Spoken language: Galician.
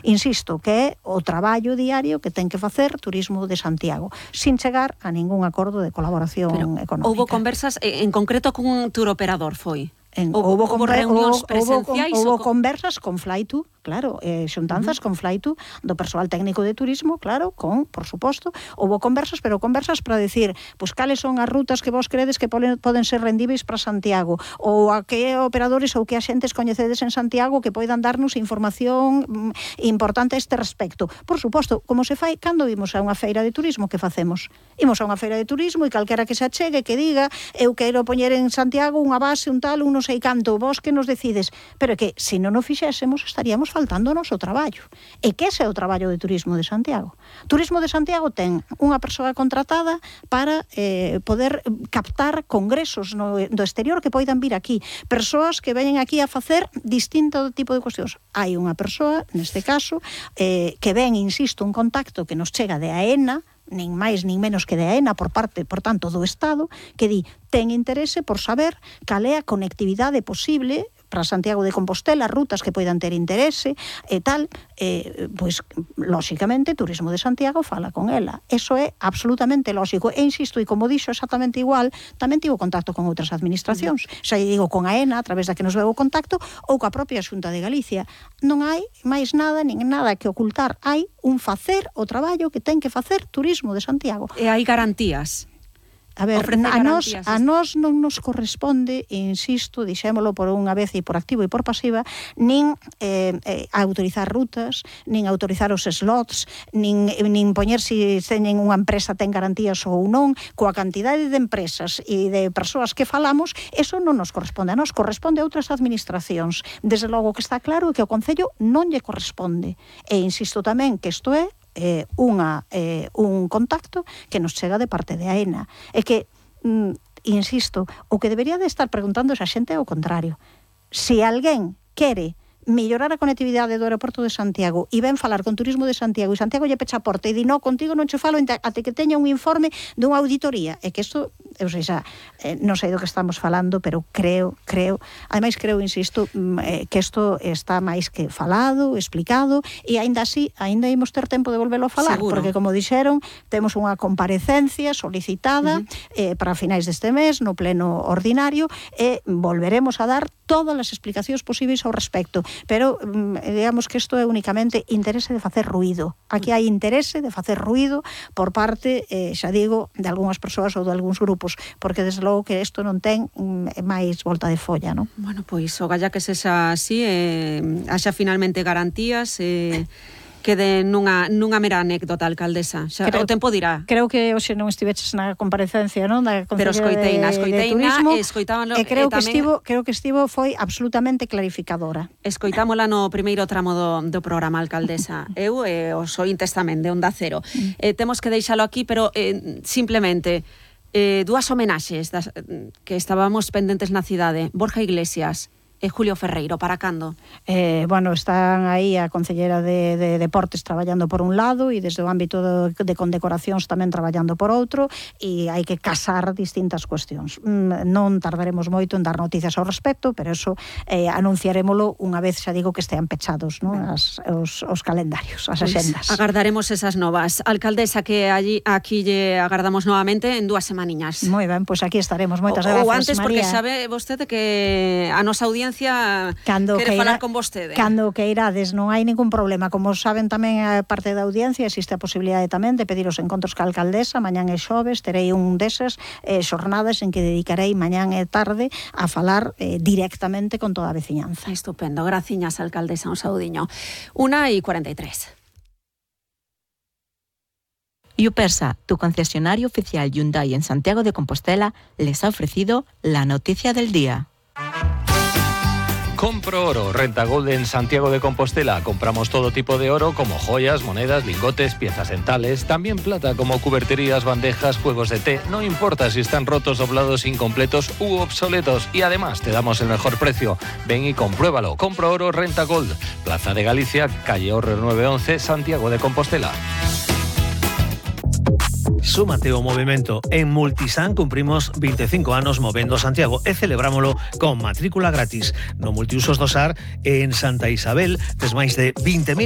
Insisto que é o traballo diario que ten que facer Turismo de Santiago, sin chegar a ningún acordo de colaboración económica. Houbo conversas en concreto cun tour operador, foi? Houbo reunións presenciais? Houbo conversas con Flytour, claro, xuntanzas con Flytour do persoal técnico de turismo, claro, por suposto, houbo conversas, pero conversas para decir, pois cales son as rutas que vos credes que poden ser rendíveis para Santiago, ou a que operadores ou que axentes coñecedes en Santiago que poidan darnos información importante a este respecto. Por suposto, como se fai cando imos a unha feira de turismo, que facemos? Imos a unha feira de turismo e calquera que se achegue, que diga, eu quero poñer en Santiago unha base, un tal, un non sei canto, vos que nos decides, pero que se non o fixésemos estaríamos faltando o noso traballo. E que ese é o traballo de Turismo de Santiago. Turismo de Santiago ten unha persoa contratada para poder captar congresos do exterior que poidan vir aquí, persoas que veñen aquí a facer distinto tipo de cuestións. Hai unha persoa, neste caso, que ven, insisto, un contacto que nos chega de AENA, nin máis nin menos que de AENA por tanto, do Estado, que di, ten interese por saber cal é a conectividade posible para Santiago de Compostela, rutas que poidan ter interese e tal, pois, lóxicamente, Turismo de Santiago fala con ela. Eso é absolutamente lóxico. E insisto, e como dixo exactamente igual, tamén tivo contacto con outras administracións. Xa digo, con AENA, a través da que nos veu o contacto, ou coa propia Xunta de Galicia. Non hai máis nada, nin nada que ocultar. Hai un facer o traballo que ten que facer Turismo de Santiago. E hai garantías? A ver, a nós non nos corresponde, insisto, dixémolo por unha vez e por activo e por pasiva, nin autorizar rutas, nin autorizar os slots, nin poñer se teñen unha empresa ten garantías ou non, coa cantidade de empresas e de persoas que falamos, eso non nos corresponde, a nos corresponde a outras administracións. Desde logo que está claro que o Concello non lle corresponde. E insisto tamén que isto é un contacto que nos chega de parte de AENA. É que, insisto, o que debería de estar preguntando esa xente é o contrario. Se alguén quere mellorar a conectividade do aeroporto de Santiago e ven falar con Turismo de Santiago e Santiago lle pecha a porta e di, no, contigo non che falo até que teña un informe dunha auditoría. É que isto, eu sei xa, non sei do que estamos falando, pero creo, ademais creo, insisto, que isto está máis que falado, explicado, e aínda así, aínda imos ter tempo de volvelo a falar, seguro, porque como dixeron, temos unha comparecencia solicitada para finais deste mes, no pleno ordinario, e volveremos a dar todas as explicacións posibles ao respecto. Pero digamos que isto é únicamente interese de facer ruído. Aquí hai interese de facer ruído por parte, xa digo, de algunhas persoas ou de algúns grupos, porque desde logo que isto non ten máis volta de folla, non? Bueno, pois o galla que sexa así, haxa finalmente garantías, quede nunha mera anécdota, alcaldesa. Xa, o tempo dirá. Creo que hoxe non estiveches na comparecencia, non? Da pero escoiteina de Turismo, escoitámoslo, e creo que estivo foi absolutamente clarificadora. Escoitámola no primeiro tramo do programa, alcaldesa. Eu e os ointes tamén de Onda Cero. Temos que deixalo aquí, pero simplemente dúas homenaxes que estábamos pendentes na cidade. Borja Iglesias e Julio Ferreiro, para cando? Bueno, están aí a Concellera de Deportes traballando por un lado e desde o ámbito de condecoracións tamén traballando por outro, e hai que casar distintas cuestións. Non tardaremos moito en dar noticias ao respecto, pero eso anunciarémolo unha vez, xa digo, que estean pechados, non? Os calendarios, as axendas. Agardaremos esas novas. Alcaldesa, que aquí lle agardamos novamente en 2 semaniñas. Moi ben, pois aquí estaremos. Moitas grazas, ou antes, María. Porque sabe vostede que a nosa audiencia quere falar con vostede. Cando que irades, non hai ningún problema. Como saben tamén a parte da audiencia, existe a posibilidade tamén de pedir os encontros ca alcaldesa. Mañán e xoves terei un desas xornadas en que dedicarei mañán e tarde a falar directamente con toda a veciñanza. Estupendo, graciñas, alcaldesa, un saudiño. 1:43. Yupersa, tu concesionario oficial Hyundai en Santiago de Compostela, les ha ofrecido la noticia del día. Compro Oro, Renta Gold en Santiago de Compostela. Compramos todo tipo de oro, como joyas, monedas, lingotes, piezas dentales, también plata, como cuberterías, bandejas, juegos de té. No importa si están rotos, doblados, incompletos u obsoletos. Y además te damos el mejor precio. Ven y compruébalo. Compro Oro, Renta Gold. Plaza de Galicia, calle Orre 911, Santiago de Compostela. Súmate ao movimento. En Multisan cumprimos 25 anos movendo Santiago e celebrámolo con matrícula gratis. No multiusos do SAR en Santa Isabel tes máis de 20.000